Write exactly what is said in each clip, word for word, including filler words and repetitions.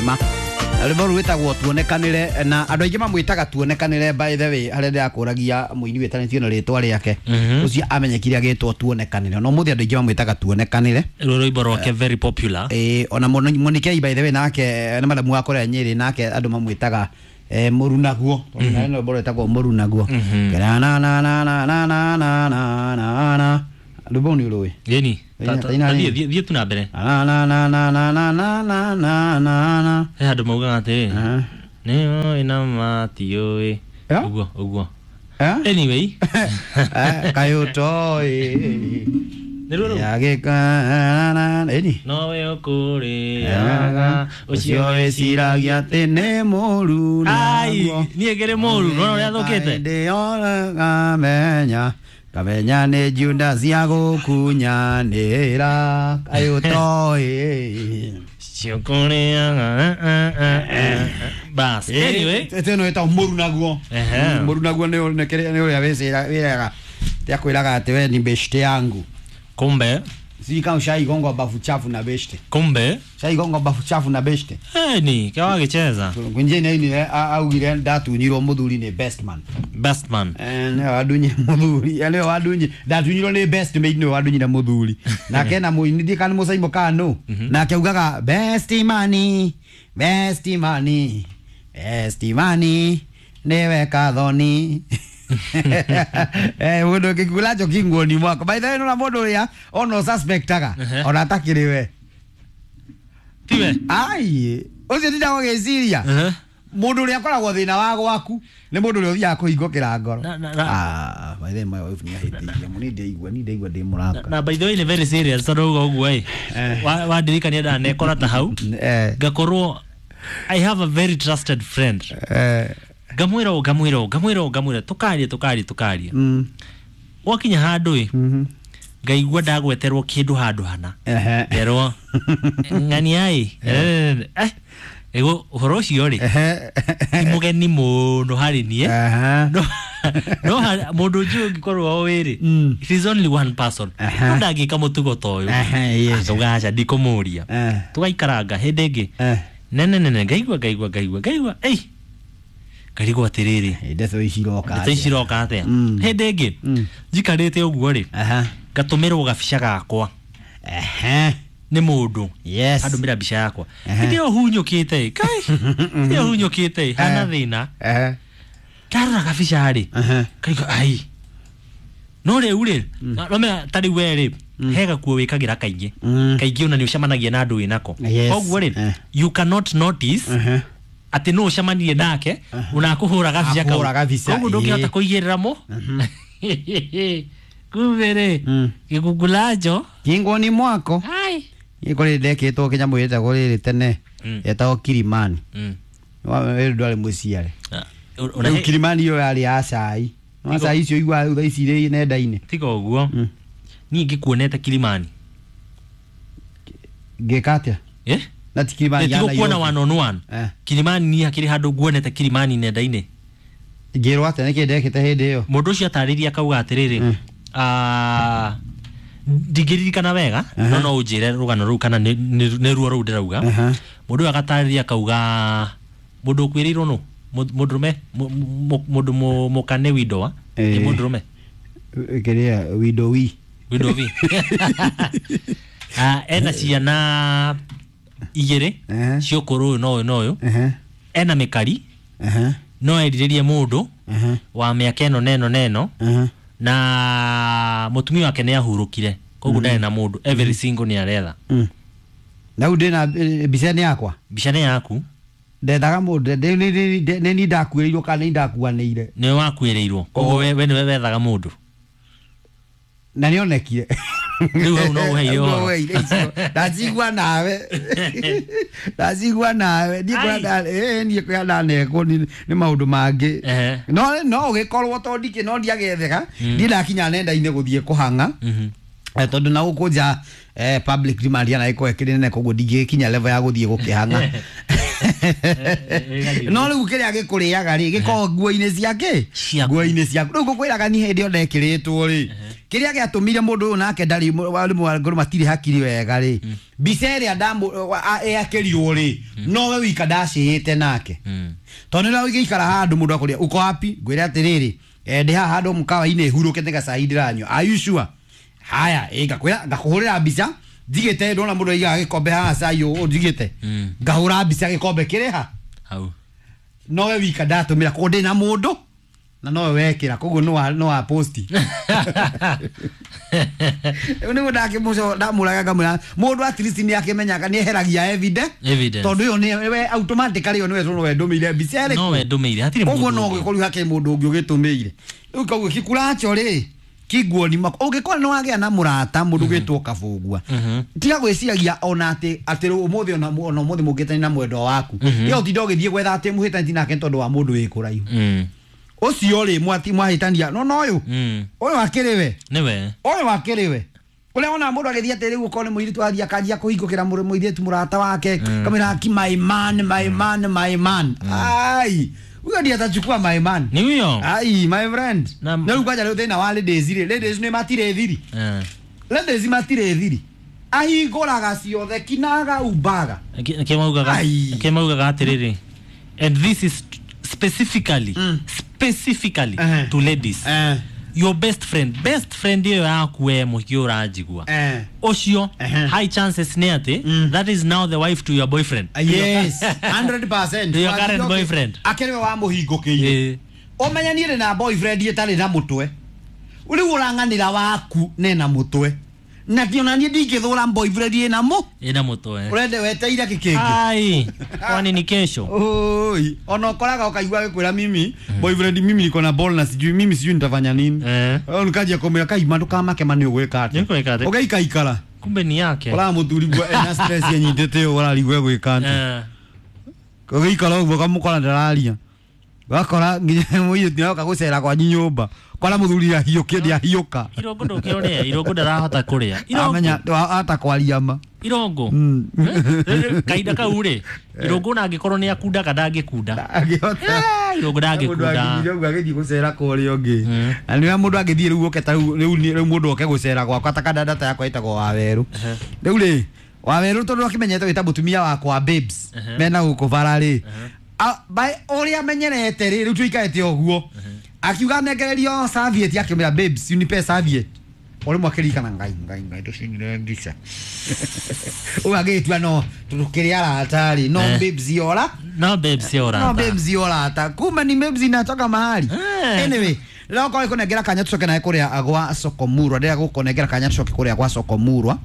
Wema. Rwĩmbo rũu rwĩtagwo Tuonekanĩre, na andũ aingĩ mamwĩtaga Tuonekanĩre. By the way, harĩa ndĩrakũragia mũini wĩtanĩtio na rĩtwa rĩake ũcio amenyekire agĩtwo Tuonekanĩre, no mũthĩ andũ aingĩ mamwĩtaga Tuonekanĩre. Rũrũ rwĩmbo rwake very popular. Ĩĩ, ona Monikei by the way, nake nĩ madamu wa kũrĩa Nyĩrĩ, nake andũ mamwĩtaga eh, Mũrunaguo, tondũ nawe nĩ rwĩmbo rwĩtagwo Mũrunaguo. Na na na na na na na na na na na rwĩmbo nĩ ũrũĩ? Gĩni. Taina- taina nini? Thiĩ tu na mbere. Na na na na na na na na na na na He handũ maugaga atĩrĩ, Ah. nĩũĩ na matiũĩ. Eh? Ũguo ũguo. Eh? Anyway. Eh, kaĩ ũtoĩ Nĩ ruo rũu. yagĩka ĩni Nowe ũkũrĩaga ũcio wĩciragia atĩ nĩ mũru. Ai, niĩ ngĩrĩ mũru nona ũrĩa thũkĩte. Ndĩona ngamenya ngamenya nĩ Judas ya gũkunyanĩra, kaĩ ũtoĩ. Ciokũrĩaga bas. Anyway. Ĩno ĩtagwo Mũru naguo. Ehe. Mũru naguo nĩ nĩ kĩrĩa- nĩ ũrĩa wĩcira- wĩraga akwĩraga atĩ we ni beshte yangu. Kumbe. Sijui kama ushaigongwa bafu chafu na beshte. Kumbe. Ushaigongwa bafu chafu na beshte? Ni kĩwagĩcheza. Kwinje nĩ augire ndatunyirwo mũthuri nĩ best man. Best man. Eh, nĩwe wadunyire mũthuri. Eh, nĩwe wadunyire, ndatunyirwo nĩ best mate, nĩwe wadunyire mũthuri. Nake na mũini ndiĩ kana mũcaimo kana nũ, nake augaga best mani, best mani, best mani nĩwe kathoni. Eh, mũndũ kĩkulacho kinguoni mwako. By the way, nona mũndũ ũrĩa ona suspectaga Ehe. ona atakĩrĩ we. Tiwe. Ai, ũcio ndindaga gũgĩciria Ehe. mũndũ ũrĩa akoragwo thĩna wa gwaku nĩ mũndũ ũrĩa ũthiaga kũhingũkĩra ngoro. Na- na- na- Ah, by the way, my wife nĩ ahĩtĩirie mũno. Niĩ ndaigua niĩ ndaigua ndĩ mũraka. Na by the way, nĩ very serious tondũ uga ũguo ĩ, Eh. Wa- wandirikania ndanekora ta hau Eh, ngakorwo I have a very trusted friend, eh, ngamwĩra ũũ, ngamwĩra ũũ, ngamwĩra ũũ, ngamwĩra, tũkaria tũkaria tũkaria, mm, gwakinya handũ ĩ, mhm. ngaigua ndagweterwo kĩndũ handũ hana, Ehe. ngerwo ng'ania ĩ, eh ĩgo ũhoro ũcio rĩ Ehe. ti mũgeni mũno harĩ niĩ. Aha. No no ha- mũndũ njũĩ ũngĩkorwo ũĩ rĩ, Mm. it is only one person. Aha. No ndangĩka mũtugo ta ũyũ. Aha, yes. Ngauga aca, ndikũmũria. Eh, Tũgaikaranga hĩndĩ ĩngĩ eh. nene nene, ngaigua ngaigua ngaigua ngaigua ei, ngarigwo atĩrĩrĩ, Ndeto ici iroka ndeto ici atĩa? iroka atĩa? Mm. Hĩndĩ ĩngĩ Mm. njikarĩte ũguo rĩ, Aha. ngatũmĩrwo gabica gakwa Ehe. nĩ mũndũ. Yes. Andũmĩra mbica yakwa. Ehe. Hĩndĩ ĩyo hunyũkĩte ĩ, kai hĩndĩ ĩyo hunyũkĩte ĩ, hana Eh. thĩna. Ehe. Ndarora gabica rĩ, Aha. kaigua ai, no rĩu rĩ, nomenya ta rĩu we rĩ, he gakuo wĩkagĩra kaingĩ, Mm. kaingĩ ona nĩ ũcemanagia na andũ wĩnako. Yes. Koguo rĩ, Eh. you cannot notice Ehe. atĩ nũ ũcemanirie nake ona akũhũra gabica kau. Akũhũra gabica, Koguo ndũngĩhota ĩĩ. kũigĩrĩra mo. Kumbe rĩ, Mm. gĩkungulacho Kingoni mwako. ai. Niĩ kũrĩ ndekĩtwo kĩnyamũ gĩtagwo rĩrĩ tene, Mm. yetagwo Kilimani. Mm. Wĩrĩ ndwarĩ mũciare. Ah, ona Rĩu he- Kilimani ĩyo yarĩ ya cai no Tigo- cai icio iguaga rĩu thaa ici irĩ nenda-inĩ. Tiga ũguo, Mm. niĩ ngĩkuonete Kilimani. Ngĩka atĩa? Eh? Na ti Kilimani ya Tigũkuona Nairobi. one on one. Eh. Kilimani niĩ hakĩrĩ handũ nguonete Kilimani nenda-inĩ. Ngĩrwo atĩa? Nĩkĩ ndekĩte hĩndĩ ĩyo? Mũndũ ũcio atarĩria akauga atĩrĩrĩ, Mm. ah, ndingĩririkana wega, Aha. no no ũnjĩre rũgano rũu kana nĩ- nĩ nĩ ruo rũu ndĩrauga. Aha. Mũndũ ũyũ agatarĩria akauga mũndũ ũkuĩrĩirwo nũ Mũ- mũndũrũme mũ- mũ- mũndũ mũ- mũka nĩ windowa nĩ Eh. mũndũrũme. Kĩrĩa windo wi. Windowi. Ah, ena ciana igĩrĩ Ehe. cia ũkũrũ ũyũ na ũyũ na ũyũ, Ehe. ena mĩkari, Ehe. no erirĩrie mũndũ Ehe. wa mĩaka ĩno na ĩno na ĩno, Ehe. na mũtumia wake nĩ ahurũkire, koguo ndarĩ na mũndũ, every single nĩ aretha. Mm. Na rĩu ndĩna eh, mbica nĩ yakwa? Mbica nĩ yaku. Ndethaga mũndũ nĩ- nĩ- nĩ- nĩ niĩ ndakuĩrĩirwo kana nĩ ndakuanĩire? Nĩwe wakuĩrĩirwo, koguo we we nĩwe wethaga mũndũ. Na nĩonekire. Rĩu hau no ũheire Hau no ũhoro. ũheire icio. Ndacigua nawe, ndacigua nawe niĩ kũrĩa Ai. nda- ĩĩ, niĩ kũrĩa ndanekwo nĩ nĩ maũndũ mangĩ. Ehe. no no ũgĩkorwo to ndikĩ no ndiagethega, ndiĩ ndakinya nenda-inĩ gũthiĩ kũhang'a. Mhm. Eh, tondũ na gũkũ nja eh, public demand yana ĩkorwo ĩkĩrĩ nene, koguo ndingĩkinya level ya gũthiĩ gũkĩhang'a. No rĩu kĩrĩa gĩkũrĩaga rĩ, gĩkoragwo nguo-inĩ ciake. Ciaku. Nguo-inĩ ciaku. Rĩu ngũkwĩraga ni hĩndĩ ĩyo ndekĩrĩtwo rĩ, kĩrĩa gĩatũmire mũndũ ũyũ nake ndarĩ warimũ wa ngoro matirĩ hakiri wega rĩ. Mbica ĩrĩa ndamũĩakĩrirwo rĩ, nowe wika ndacĩĩte nake. Tondũ nĩ ũgĩikara handũ mũndũ akũria uko wapi, ngwĩre atĩrĩrĩ, eh, ndĩ haha handũ mũkawa-inĩ hurũkĩte gacai ndĩranyua. Are you sure? Haya, ĩ ngakwĩra ngakũhũrĩra mbica njigĩte, ndona mũndũ aigaga gĩkombe haha cai ũũ njigĩte, ngahũra mbica gĩkombe kĩrĩ ha hau, nowe wika ndatũmĩra, koguo ndĩ na mũndũ na nowe wekĩra, koguo no wa no wa posti. Rĩu nĩguo ndakĩmũco ndamũraga ngamwĩra mũndũ at least nĩ akĩmenyaga nĩ eheragia evidence, Evidence. tondũ ĩyo nĩ we automatically ĩyo nĩwe tondũ we ndũmĩire mbica ĩrĩkũ, no we ndũmĩire hatirĩ koguo mũndũ no ũngĩ. ũgĩkorwo hakĩrĩ mũndũ ũngĩ ũgĩtũmĩire. Rĩu koguo kĩkuracho rĩ kiguoni mako ũngĩkorwo nĩ wagĩa na mũrata mũndũ ũgĩtwo kabũgua, tiga gwĩciragia ona atĩ atĩ ũmũthĩ ona ona ũmũthĩ mũngĩtani na mwendwa waku, ĩyo ũtinda ũgĩthiĩ gwetha atĩ mũhĩtanĩtie nake tondũ wa mũndũ wĩ kũraihu Mm. ũcio rĩ mwati mwahĩtania no no ũyũ Mm. ũyũ akĩrĩ we nĩwe ũyũ akĩrĩ we ũrĩa wona mũndũ agĩthiĩ atĩ rĩu ũkorwo nĩ mũirĩtu athiĩ akanjia kũhingũkĩra mũrũ mũirĩtu mũrata wake, kamwĩra aki my man, my man, my man, ai huyo ndiye atachukua my man. Ni huyo. Ai my friend, Na- na rĩu kwanja rĩu thĩna wa ladies rĩ, ladies nĩ matirĩ thiri, Eh. ladies matirĩ thiri, ahingũraga ciothe kinaga umbaga. Kĩmaugaga Ai. kĩmaugaga atĩrĩrĩ, and this is specifically specifically Eh. to ladies, eh your best friend, best friend ĩyo yaku we mũhiki ũranjigua eh ũcio, Ehe. high chances nĩ atĩ that is now the wife to your boyfriend. Yes, one hundred percent. To your current boyfriend. Akĩrĩ we wamũhingũkĩire. Eh. Ũmenye niĩ ndĩ na boyfriend ĩtarĩ na mũtwe, rĩu ũrang'anĩra waku nena mũtwe, na ti ona niĩ ndingĩthũra boyfriend ĩna mũ ĩna mũtwe. Ũrende weteire kĩ kĩngĩ? Ai, kwani ni kesho? Oi, ona ũkoraga ũkaigua gĩkwĩra mimi boyfriend, mimi niko na ball na sijui mimi sijui nitafanya nini. Eh. Wewe nikaja kumwĩra kaima ndũkamake ma nĩ ũgwĩka atĩa? Nĩ ũgwĩka atĩa? Ũgaikaikara. Kumbe ni yake. Ũraga mũthuri gwe ena stress yenyitĩte ũũ ũrarigwo egwĩka atĩa. Eh. Ũgĩikara ũguo ũkamũkora ndararia, ũgakora nginya mũirĩtu nĩaroka gũcera kwanyu nyũmba, kora mũthuri ahiũkĩ ndiahiũka. Irongo ndũkĩorĩa, irongo ndarahota kũrĩa. Irongo Amenya ata kwaria ma. Irongo. Mm. Eh, kahinda kau rĩ, irongo ona angĩkorwo nĩ akundaga ndangĩkunda. Angĩhota. Eh, irongo Mũndũ ndangĩkunda. angĩthire ũguo agĩthiĩ gũcera kũrĩa ũngĩ, Mm. na nĩwe mũndũ angĩthiĩ rĩu oke ta rĩu rĩu rĩu mũndũ oke gũcera gwakwa ta kana data yakwa ĩtagwo Wawerũ. Rĩu rĩ Wawerũ tondũ akĩmenyete wĩta mũtumia wakwa babes mena gũkũ bara rĩ, A- by ũrĩa amenyerete rĩ, rĩu tũikarĩte ũguo akiuga nengererio serviette, akĩmwĩra babes unipe serviette, o rĩmwe akĩririkana ngai ngai ngai tũcinire mbica ũguo agĩtua no tũkĩrĩ arata rĩ no Eh. babes yora No babes no yora. Babes yorata kumbe ni babes inatoka mahali. Eh. Anyway, rĩrĩa ũkorwo ĩkũnengera kanya tũcoke nawe kũrĩa gwa Sokomurwa, ndĩrĩa gũkũnengera kanya tũcoke kũrĩa gwa Sokomurwa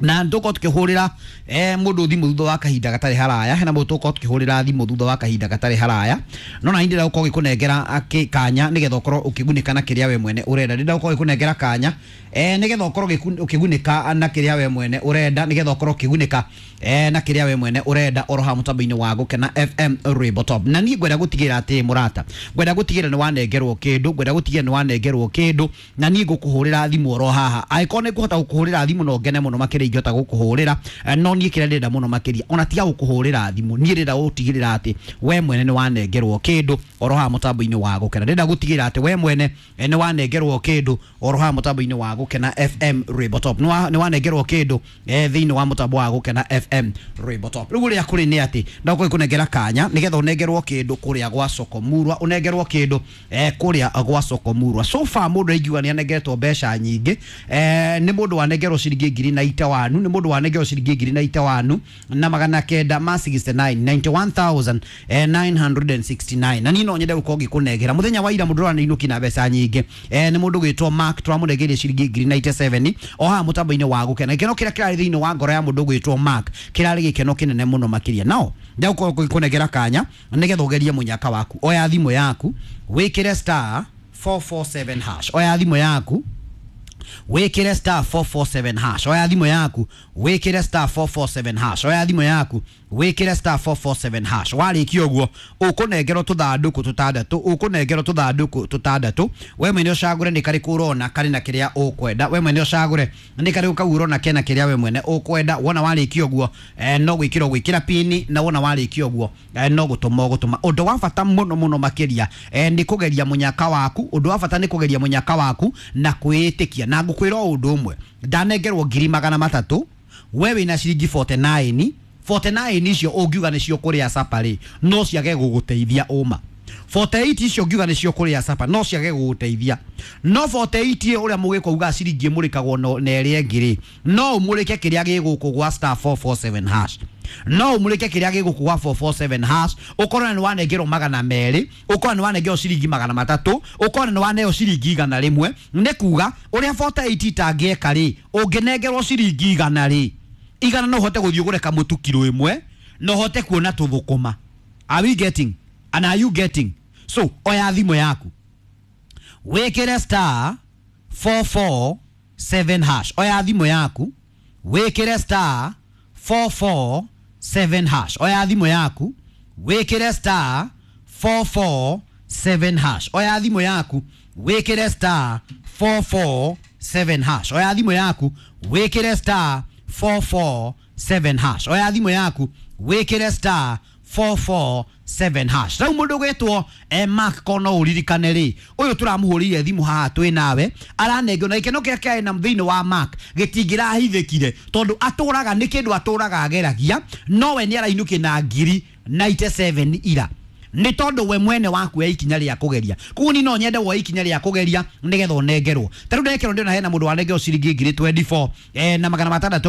na tũkorwo tukĩhũrĩra eh, mũndũ thimũ thutha wa kahinda gatarĩ haraya. Hena mũndũ tũkorwo tukĩhũrĩra thimũ thutha wa kahinda gatarĩ haraya, no na ndĩrenda gũkorwo gĩkũnengera akĩ- kanya nĩgetha ũkorwo ũkĩgunĩka na kĩrĩa we mwene ũrenda. Ndĩrenda gũkorwo gĩkũnengera kanya eh, nĩgetha ũkorwo gĩku- ũkĩgunĩka na kĩrĩa we mwene ũrenda, nĩgetha ũkorwo ũkĩgunĩka eh, na kĩrĩa we mwene ũrenda oro haha mũtambo-inĩ wa Gũkena F M Rainbow Top. Na niĩ ngwenda gũtigĩrĩra atĩ mũrata, ngwenda gũtigĩrĩra nĩ wanengerwo kĩndũ, ngwenda gũtigĩrĩra nĩ wanengerwo kĩndũ, na niĩ ngũkũhũrĩra thimũ oro haha angĩkorwo nĩ ngũhota gũkũhũrĩra thimũ no ngene mũno makĩria ingĩhota gũkũhũrĩra. Eh, no niĩ kĩrĩa ndĩrenda mũno makĩria ona tiga gũkũhũrĩra thimũ, niĩ ndĩrenda gũtigĩrĩra atĩ we mwene nĩ wanengerwo kĩndũ oro haha mũtambo-inĩ wa Gũkena. Ndĩrenda gũtigĩrĩra atĩ we mwene eh, nĩ wanengerwo kĩndũ oro haha mũtambo-inĩ wa Gũkena F M Rainbow Top. Nĩ wa- nĩ wanengerwo kĩndũ eh, thĩinĩ wa mũtambo wa Gũkena F M Rainbow Top. Rĩu ũrĩa kũrĩ nĩ atĩ ndagũkorwo kũnengera kanya nĩgetha ũnengerwo kĩndũ kũrĩa gwa Sokomurwa, ũnengerwo kĩndũ eh, kũrĩa gwa Sokomurwa. So far mũndũ aingiuga nĩ anengeretwo mbeca nyingĩ eh, nĩ mũndũ wanengerwo ciringi ngiri na itawanu, nĩ mũndũ wanengerwo ciringi ngiri na itawanu na magana kenda ma sixty-nine, ninety-one thousand nine hundred sixty-nine. Na niĩ no nyende gũkorwo ngĩkũnengera mũthenya wa ira mũndũ ũraneinũki na mbeca nyingĩ eh, nĩ mũndũ gwĩtwo Mark, tũramũnengeire ciringi ngiri ninety-seven o haha mũtambo-inĩ wa Gũkena. Gĩkeno kĩrĩa kĩrarĩ thĩinĩ wa ngoro ya mũndũ gwĩtwo Mark kĩrarĩ gĩkeno kĩnene mũno makĩria. Nao ndagũkorwo ngĩkũnengera kanya nĩgetha ũgerie mũnyaka waku. Oya thimũ yaku wĩkĩre star four four seven hash. Oya thimũ yaku wĩkĩre star four four seven hash. Oya thimũ yaku wĩkĩre star four four seven hash. Oya thimũ yaku wĩkĩre star four four seven hash. Warĩkia ũguo ũkũnengerwo tũthandũkũ tũtandatũ, ũkũnengerwo tũthandũkũ tũtandatũ. We mwene ũcagũre nĩ karĩkũ ũrona karĩ na kĩrĩa ũkwenda. We mwene ũcagũre nĩ karĩkũ kau ũrona kena kĩrĩa we mwene ũkwenda. Wona warĩkia ũguo eh, no gwĩkĩra ũgwĩkĩra pini, na wona warĩkia ũguo eh, no gũtũma ũgũtũma. Ũndũ wa bata mũno mũno makĩria eh, nĩ kũgeria mũnyaka waku. Ũndũ wa bata nĩ kũgeria mũnyaka waku na kwĩĩtĩkia. Na ngũkwĩra o ũndũ ũmwe, ndanengerwo ngiri magana matatũ. We wĩna ciringi mĩrongo ĩna na kenda, mĩrongo ĩna na kenda icio ũngiuga nĩcio kũrĩa sapa rĩ, no ciage gũgũteithia ũma. mĩrongo ĩna na nyanya icio ũngiuga nĩcio kũrĩa sapa, no ciage gũgũteithia. No mĩrongo ĩna na nyanya ũrĩa mũgĩkũ uga ciringi ĩmũrĩkagwo no- na ĩrĩa ĩngĩ rĩ, no ũmũrĩke kĩrĩa gĩ gũkũ gwa star four four seven hash, no ũmũrĩke kĩrĩa gĩ gũkũ gwa four four seven hash, ũkorwo nĩ wanengerwo magana merĩ, ũkorwo nĩ wanengerwo ciringi magana matatũ, ũkorwo nĩ waneo ciringi igana rĩmwe. Nĩ kuga ũrĩa mĩrongo ĩna na nyanya itangĩeka rĩ, ũngĩnengerwo ciringi igana rĩ, igana no ũhote gũthiĩ ũgũre kamũtu kiro ĩmwe na ũhote kuona tũthũkũma. Are we getting and are you getting? So oya thimũ yaku, wĩkĩre star four four seven hash. Oya thimũ yaku, wĩkĩre star four four seven hash. Oya thimũ yaku, wĩkĩre star four four seven hash. Oya thimũ yaku, wĩkĩre star four four seven hash. Oya thimũ yaku, wĩkĩre star four four seven hash. Oya thimũ yaku, wĩkĩre star four four seven hash. Rĩu mũndũ gwĩtwo eh, Mark, kono ũririkane rĩ, ũyũ tũramũhũrĩire thimũ haha twĩ nawe, aranengwo na gĩkeno kĩrĩa kĩarĩ na thĩinĩ wa Mark gĩtingĩrahithĩkire, tondũ atũraga nĩ kĩndũ atũraga ageragia, no we nĩ arainũkia na ngiri mĩrongo ĩnane na mũgwanja ira, nĩ tondũ we mwene waku ya ikinya rĩa kũgeria. Koguo ni no nyende woe ikinya rĩa kũgeria nĩgetha ũnengerwo. Ta rĩu ndekerwo, ndĩrona hena mũndũ wanengerwo ciringi ngiri mĩrongo ĩrĩ na inya eh, na magana matandatũ.